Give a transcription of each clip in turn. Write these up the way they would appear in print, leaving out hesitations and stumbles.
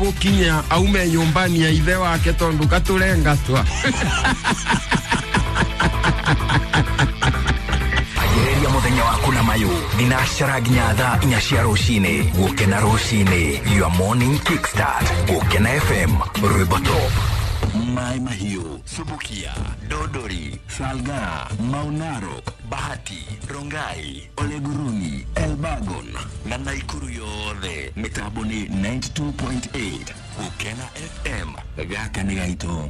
Gũkinya aume nyũmbani ya ithe wake tondũ gatũrengatwa. Anjĩrĩria mũthenya waku na mayũ thinacara nginya thaa 4 cia rũcinĩ. Gũkena rũcinĩ, your morning kickstart. Gũkena FM, rwĩmbo top. Mai Mahiu, Subukia, Dodori, Salga, Maunaro, Bahati, Rongai, Oleguruni, Elbagon na Naikuru yothe. Mĩtambo nĩ 92.8 Gũkena FM. Gaka nĩ gaitũ.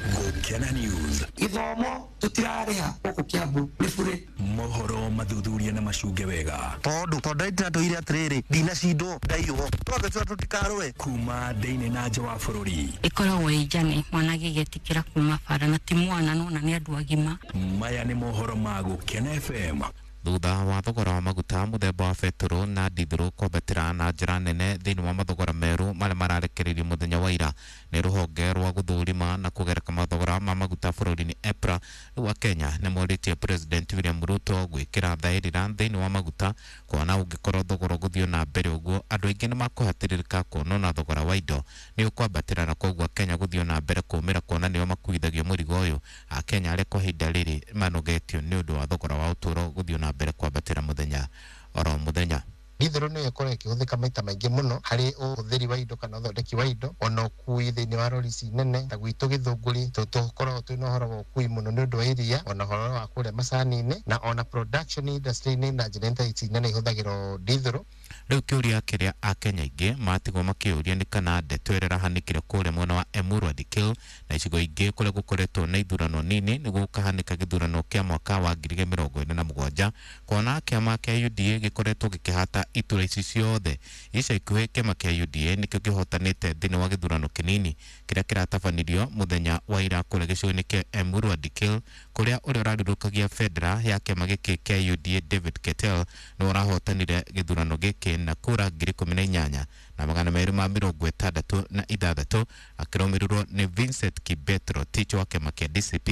Gũkena News. Gĩthomo tũtirarĩha gũkũ Kiambu nĩ bure. Mohoro mathuthuria na macunge wega. Tondu ndĩratwĩire atĩrĩrĩ, ndinacindwo ndaiywo. Twambe tũtikarũe. Kuma thĩinĩ na nja wa bũrũri. Ĩkoragwo ĩ njane mwana agĩgĩtĩkĩra kuma bara na ti mwana nona nĩ andũ agima. Maya nĩ mohoro ma Gũkena FM. Thutha wa thogora wa maguta mũthemba wa betũrũ na ndithũrũ kwambatĩra na njĩra nene thĩinĩ wa mathogora merũ marĩa mararekereirio mũthenya wa ira nĩ rũhonge rwa gũthũrima na kũgereka mathogora ma maguta bũrũri-inĩ EPRA, rĩu Akenya nĩ morĩtie President William Ruto gwĩkĩra thaĩrĩra thĩinĩ wa maguta kuona ũngĩkorwo thogora ũgũthiĩ na mbere ũguo andũ aingĩ nĩ makũhatĩrĩrĩka kuona ona thogora wa indo nĩ ũkwambatĩra na koguo Akenya gũthiĩ na mbere kũmĩra kuona nĩo makuithagio mũrigo ũyũ. Akenya arĩa kwa ihinda rĩrĩ manogetio nĩ ũndũ wa thogora wa ũtũũro gũthiĩ na mbere kwambatĩra mũthenya oro mũthenya. Ndithũrũ nĩyo ĩkoragwo ĩkĩhũthĩka maita maingĩ mũno harĩ ũhũthĩri wa indo kana ũthondeki wa indo, ona ũkui thĩinĩ wa rori ici nene ta gwitũ Gĩthũngũri tũkoragwo twĩna ũhoro wa ũkui mũno nĩ ũndũ wa iria, ona ũhoro wa kũrĩa macani-inĩ, na ona production industry-inĩ na generator ici nene ihũthagĩrwo ndithũrũ. Rĩu kĩũria kĩrĩa Akenya aingĩ matigwo makĩũria nĩ kana ndeto ĩrĩa ĩrahanĩkire kũrĩa mwena wa Emurua Dikirr na icigo ingĩ kũrĩa gũkoretwo na ithurano nini nĩ gũkahanĩka gĩthurano kĩa mwaka wa 2027 kuona kĩama kĩa UDA gĩkoretwo gĩkĩhata itura ici ciothe. Ica ikuhĩ kĩama kĩa UDA nĩkĩo kĩhotanĩte thĩinĩ wa gĩthurano kĩnini kĩrĩa kĩratabanirio mũthenya wa ira kũrĩa gĩcigo-inĩ kĩa Emurua Dikirr kũrĩa ũrĩa ũrarĩrũkagia bendera ya kĩama gĩkĩ kĩa UDA David Ketel nĩwe ũrahotanire gĩthurano gĩkĩ na kura 18,266 akĩrũmĩrĩrwo nĩ Vincent Kibet Rotich wa kĩama kĩa DCP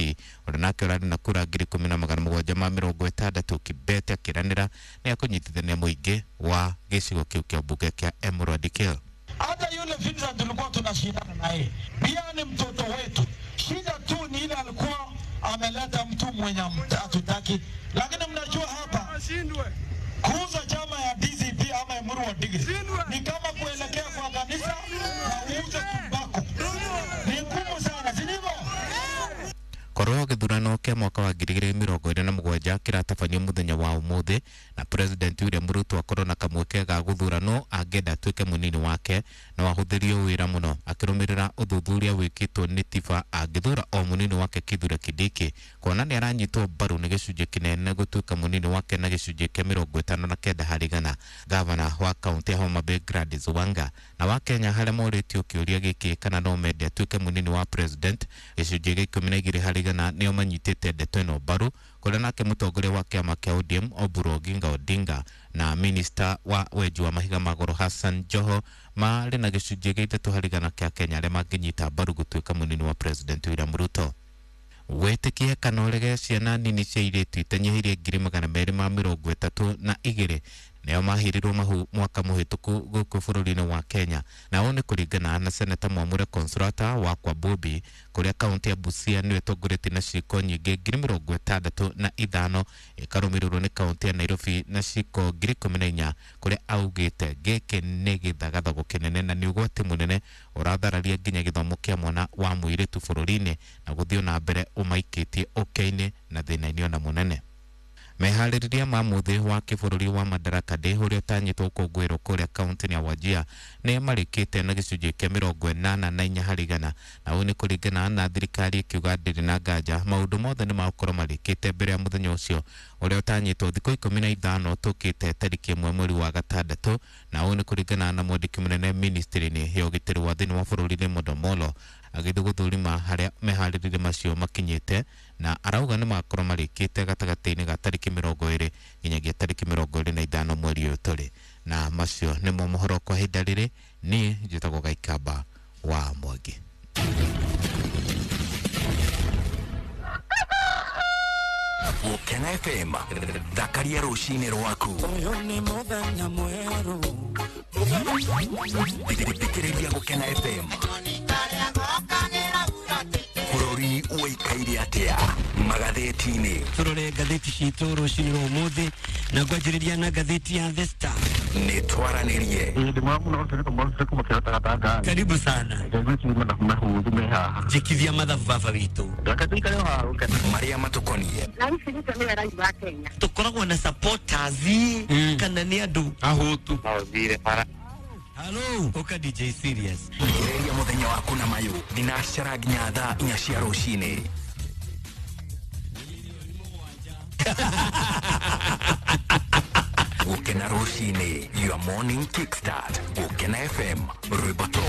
ũrĩa nake ũrarĩ na kura 10,760. Kibet akĩranĩra nĩ akũnyitithania mũingĩ wa gĩcigo kĩu kĩa mbunge kĩa Emurua Dikirr. Hata yule Vincent tulikuwa tunashindana naye pia ni mtoto wetu, shida tu ni ile alikuwa ameleta mtu mwenye hatutaki, lakini mnajua hapa kuuza chama ya DCP ama Emurua Dikirr ni kama kuelekea kwa kanisa na uuze tumbako, ni ngumu sana, si ndivyo? Korwo gĩthurano kĩa mwaka wa 2027 kĩratabanio mũthenya wa ũmũthĩ na President William Ruto akorwo na kamweke ga gũthurano angĩenda atuĩke mũnini wake no ahũthĩrio wĩra mũno akĩrũmĩrĩra ũthuthuria wĩkĩtwo nĩ Tifa angĩthura o mũnini wake Kithure Kindiki kuona nĩ aranyitwo mbaru nĩ gĩcunjĩ kĩnene gũtuĩka mũnini wake na gĩcunjĩ kĩa 59 harĩ igana. Gavana wa kaunti ya Homa Bay Gladys Wanga na wa Kenya harĩa morĩtio kĩũria gĩkĩ kana no mende atuĩke mũnini wa president gĩcunjĩ gĩa 12 harĩ igana nĩo manyitĩte ndeto ĩno mbaru kũrĩa nake mũtongoria wa kĩama kĩa ODM Oburu Oginga Odinga na minista wa wenji wa mahiga ma goro Hassan Joho marĩ na gĩcunjĩ gĩa 3 harĩ igana kĩa Kenya arĩa mangĩnyita mbaru gũtuĩka mũnini wa president William Ruto. Wĩtĩkie kana ũrege ciana nini cia airĩtu itanyihĩirie 232,000 nĩo mahirirwo mahu mwaka mũhĩtũku gũkũ bũrũri-inĩ wa Kenya, na ũũ nĩ kũringana na Seneta Mwamure Consolata wa Kwabobi kũrĩa kaunti ya Busia nĩyo ĩtongoretie na ciĩko nyingĩ 65,000 ĩkarũmĩrĩrwo nĩ kaunti ya Nairobi na ciĩko 14,000 kũrĩa augĩte gĩkĩ nĩ gĩthagathago kĩnene na nĩ ũgwati mũnene ũrathararia nginya gĩthomo kĩa mwana wa mũirĩtu bũrũri-inĩ na gũthiĩ na mbere ũmaikĩtie ũkĩa-inĩ na thĩna-inĩ ona mũnene. Meharĩrĩria ma mũthĩ wa kĩbũrũri wa Madaraka Day ũrĩa ũtanyĩtwo gũkũngũĩrwo kũrĩa kaunti-inĩ ya Wajir nĩ marĩkĩte na gĩcunjĩ kĩa 84 harĩ igana, na ũũ nĩ kũringana na thirikari ĩkiuga ndĩrĩ na nganja maũndũ mothe nĩ magũkorwo marĩkĩte mbere ya mũthenya ũcio ũrĩa ũtanyĩtwo thikũ 15 tũkĩte tarĩki 1 mweri wa gatandatũ, na ũũ nĩ kũringana na mwandĩki mũnene ministry-inĩ ya ũgitĩri wa thĩinĩ wa bũrũri Raymond Omolo agĩthiĩ gũthũrima harĩa meharĩrĩria macio makinyĩte na arauga nĩ makorwo marĩkĩte gatagatĩ-inĩ ga tarĩki 20 nginyagia tarĩki 25 mweri ũyũ tũrĩ. Na macio nĩmo mohoro kwa ihinda rĩrĩ. Niĩ njĩtagwo Gaikamba wa Mwangi. Gũkena FM, thakaria rũcinĩ rwaku. Ũyũ nĩ mũthenya mwerũ. Thikĩrĩria Gũkena FM. Bũrũri ũikaire atĩa magathĩti-inĩ? Turore ngathĩti citũ rũcinĩ rwa ũmũthĩ na ngwanjĩrĩria na ngathĩti ya The Star. Nĩ twaranĩrie. Karibu sana. Njĩkithia mathabu baba witũ. Marĩa matũkoniĩ. Tũkoragwo na supporters kana nĩ andũ ahũtu. Hello, ũka DJ Serious. Thikĩrĩria mũthenya waku na mayũ thinacara nginya thaa 4 cia rũcinĩ. Gũkena rũcinĩ, your morning kickstart. Gũkena FM, rwĩmbo top.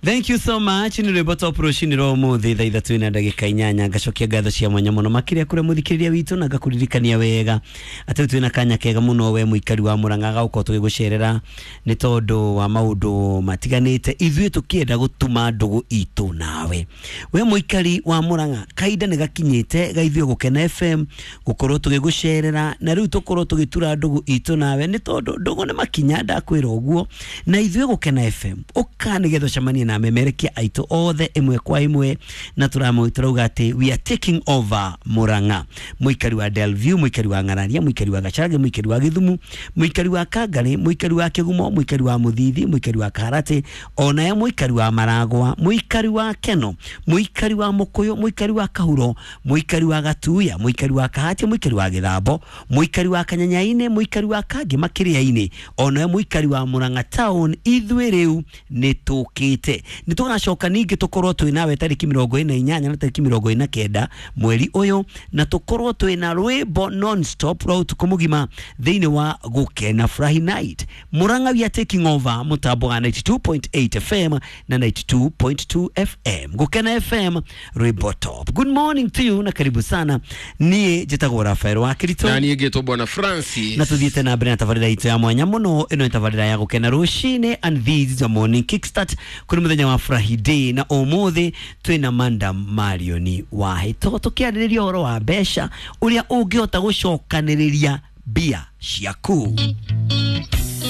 Thank you so much. Nĩ rwĩmbo top rũcinĩ rwa ũmũthĩ thaa 3:08. Ngacokia ngatho cia mwanya mũno makĩria kũrĩa mũthikĩrĩria witũ na ngakũririkania wega atĩ twĩna kanya kega mũno we mũikari wa Murang'a gagũkorwo tũgĩgũcerera nĩ tondũ wa maũndũ matiganĩte ithuĩ tũkĩenda gũtuma ndũgũ itũ nawe. We mũikari wa Murang'a, kahinda nĩ gakinyĩte ga ithuĩ Gũkena FM gũkorwo tũgĩgũcerera na rĩu tũkorwo tũgĩtura ndũgũ itũ nawe nĩ tondũ ndũgũ nĩ makinya, ndakwĩra ũguo. Na ithuĩ Gũkena FM ũka nĩgetha ũcemanie na memerekia aitũ othe ĩmwe kwa ĩmwe na tũramũturauga atĩ we are taking over Murang'a. Mũikari wa Delview, mũikari wa Ng'araria, mũikari wa Gacharage, mũikari wa Gĩthumu, mũikari wa Kangarĩ, mũikari wa Kĩgumo, mũikari wa Mũthithi, mũikari wa Kaharati, onaye mũikari wa Maragwa, mũikari wa Keno, mũikari wa Mũkũyũ, mũikari wa Kahuro, mũikari wa Gatuya, mũikari wa Kahatia, mũikari wa Gĩthambo, mũikari wa Kanyanyainĩ, mũikari wa Kangĩ Makĩrĩa-inĩ, onaye mũikari wa Murang'a town, ithuĩ rĩu nĩ tũkĩte. Nĩ tũgacoka ningĩ tũkorwo twĩ nawe tarĩki 48 na tarĩki 49 mweri ũyũ, na tũkorwo twĩ na rwĩmbo non stop rwa ũtukũ mũgima thĩinĩ wa Gũkena Furahi Night. Murang'a we are taking over mũtambo wa 92.8 FM na 92.2 FM. Gũkena FM, rwĩmbo top. Good morning to you na karibu sana. Niĩ njĩtagwo Rafael wa Kirito Na niĩ ngĩtwo Bwana Francis. Na tuthiĩte na mbere na tabarĩra itũ ya mwanya mũno. Ĩno nĩ tabarĩra ya Gũkena rũcinĩ and this is a morning kickstart kũrĩ mũthenya wa Furahi Day, na ũmũthĩ twĩna Madam Marioni Wahĩto tũkĩarĩrĩria ũhoro wa mbeca, ũrĩa ũngĩhota gũcokanĩrĩria mbia ciaku.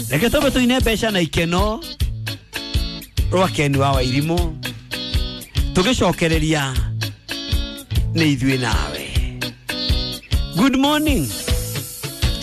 Reke tũmbe tũine mbeca na ikeno rwa Ken wa Wairimũ, tũgĩcokereria nĩ ithuĩ nawe. Good morning.